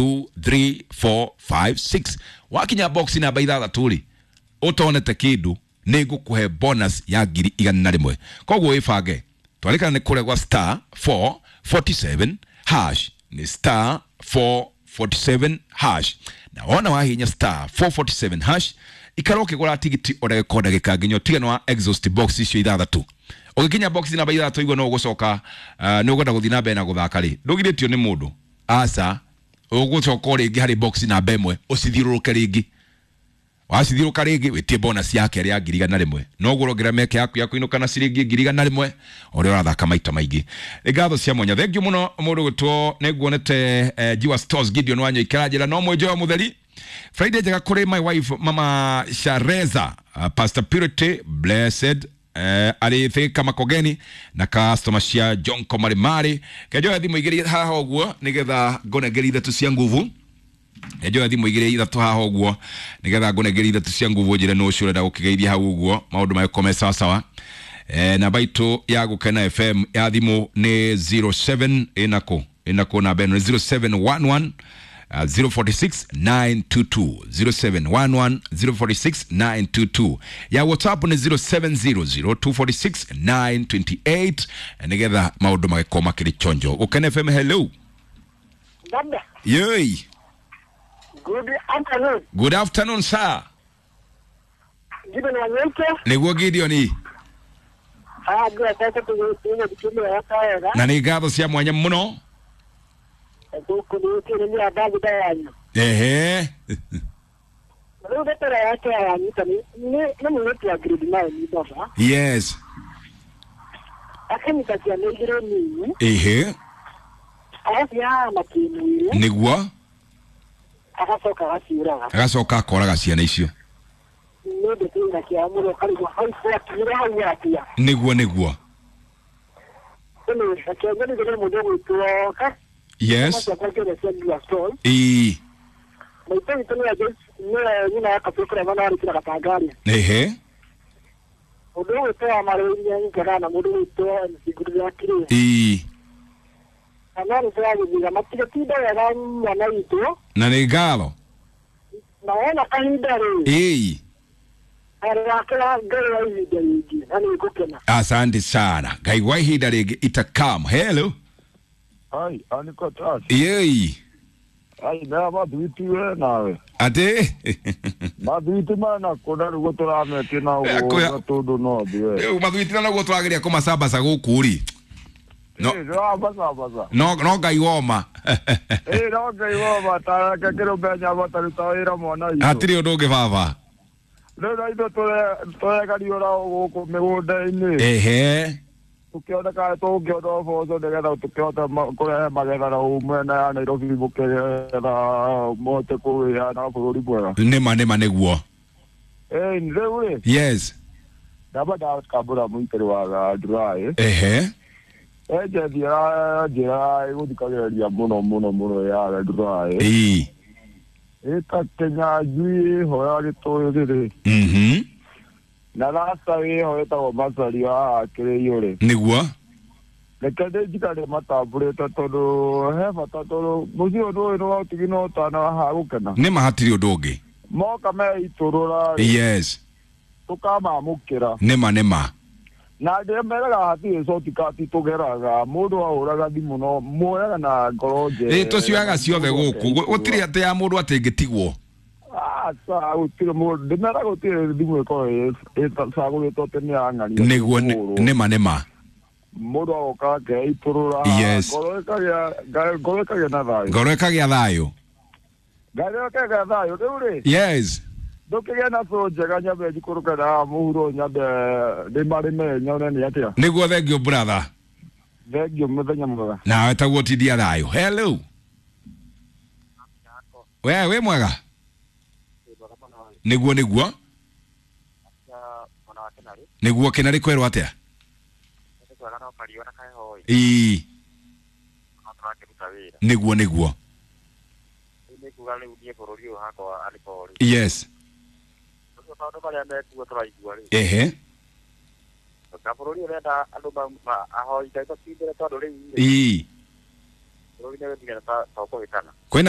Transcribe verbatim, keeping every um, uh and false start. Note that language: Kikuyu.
two three four five six. Wakinya box namba ithathatũ rĩ, ũtonete kĩndũ nĩ ngũkũhe bonus ya ngiri igana na rĩmwe. Koguo wĩbange, twarĩkana nĩ kũrĩa gwa star four forty-seven hash, nĩ star four forty-seven hash. Na wona wahinya star four forty-seven hash, ikara ũkĩgũra tigiti o ndagĩka o ndagĩka nginya ũtigane wa exhaust box icio ithathatũ. Ũgĩkinya box namba ithathatũ igua no ũgũcoka, uh, nĩ ũkwenda gũthiĩ na mbere na gũthaka rĩ, ndũgirĩtio nĩ mũndũ, aca, ũgũcoka o rĩngĩ harĩ box namba ĩmwe ũcithiũrũrũke rĩngĩ. Wacithiũrũka rĩngĩ wĩtie bonus ya kerĩ ya ngiri igana rĩmwe, noguo ũrongerera mĩeke yaku ya kũinũka na ciringi ngiri igana rĩmwe ũrĩa ũrathaka maita maingĩ. Nĩ ngatho cia mwanya, thengiũ mũno mũndũ gwĩtwo nĩnguonete, eh, Jiwa Stores Gideon Wanyoike njĩra no mwĩnjoyo mũtheri. Friday njega kũrĩ my wife Mama Shareza, uh, Pastor Purity Blessed, eh, arĩ Thika Makogeni na customer cia Jonko Marimari. Kenjoya thimũ igĩrĩ haha ũguo nĩgetha ngũnengere ithatũ cia nguvu. Njoya thimũ igĩrĩ ithatũ haha ũguo nĩgetha ngũnengere ithatũ cia nguvu, njĩre nũ ũcio ũrenda gũkĩgeithia hau ũguo maũndũ magĩkorwo me sawa sawa. Eh, namba itũ ya Gũkena F M ya thimũ nĩ zero seven ĩnakũ ĩnakũ namba ĩno nĩ zero seven one one, uh, zero forty six nine two two, zero seven one one zero forty six nine two two. Ya WhatsApp nĩ zero seven zero zero two forty six nine twenty eight, nĩgetha maũndũ magĩkorwo makĩrĩ chonjo. Gũkena F M, hello. Dada. Yoi. Good afternoon. Good afternoon, sir. Gideon Wanyoike. Nĩguo Gideon. Ah, good afternoon. Na nĩ ngatho cia mwanya mũno. Ehe. Yes. Ehe. Nĩguo. Agacoka agaciũraga. Agacoka akoraga ciana icio. Nĩguo, nĩguo. Yes. Ii. Ehe. Ii. Na nĩ ngatho. Na kahinda rĩ. Ii. Asante sana. Ngai wa ihinda rĩngĩ itakam. Hello. Ai, aniko tas. Yei. Ai, na mathuiti we nawe. Ate? Mathuiti mana kũna rĩu tũrametie na ũguo tondũ no thiwe. Rĩu mathuiti na noguo tũrageria kũmacabaca gũkũ rĩ. No. No, no ngai woma. Eh, no ngai woma ta ke kĩrũmbe nyama taruta wĩra mwana witũ. Hatirĩ ũndũ ũngĩ baba. Rĩu na ithuĩ tũregariũra gũkũ mĩgũnda-inĩ. Ehe. Tũkĩona kana tũngĩona ũboco nĩgetha tũkĩhote kũrehe magetha na mwena ya Nairobi mũkĩgetha mũhote kũgĩa na bũrũri mwega. Nĩma, nĩma nĩguo. Eh, rĩu rĩ. Yes. Ndamba ndakambũra mũitĩrĩ wa dry. Ehe. Enjethiera njĩra ĩgũthikagĩrĩria mũno mũno mũno ya dry. Ĩĩ. Ĩta Kĩnyanjui ĩho ya Gĩtũyũ rĩ. Mhm. Na rasta ĩho ĩtagwo Macari wa Kĩrĩiũ rĩ. Nĩguo. Reke ndĩnjikare matambũrĩte tondũ he bata tondũ mũciĩ ũndũ ũyũ nĩ wa ũtigi na ũtana haha gũkena. Nĩma hatirĩ ũndũ ũngĩ. Moka meitũrũra rĩ. Yes. Tũkamamũkĩra. Nĩma, nĩma. Na ndĩmeraga hatirĩ shortcut tũgeraga mũndũ ahũraga thimũ no muoyaga na ngoro njega. Ĩ tũcioyaga ciothe gũkũ gũtirĩ atĩ ya mũndũ atĩ ĩngĩtigwo. Aca gũtirĩ mũndũ ndĩmeraga gũtirĩ thimũ ĩkoragwo ĩcagũrĩtwo atĩ nĩ ya ng'ania. Nĩguo, nĩma, nĩma. Mũndũ agoka akeitũrũra. Yes. Ngoro ĩkagĩa, ngoro ĩkagĩa na thayũ. Ngoro ĩkagĩa thayũ. Ngoro ĩkagĩa thayũ rĩu rĩ. Yes. Ndũkĩgĩe na cũ njega nyambe njikũrũke na mũhuro nyambe ndĩmarĩme nyone nĩ atĩa. Nĩguo, thengiũ brother. Thengiũ mũthenya mwega. Nawe taguo tindia thayũ. Hello. We wĩ mwega? Nĩguo, nĩguo. Nĩguo Kĩnarĩ kwerwo atĩa? Ĩĩ. Nĩguo, nĩguo. Yes. Ehe. Ĩĩ. Kwĩna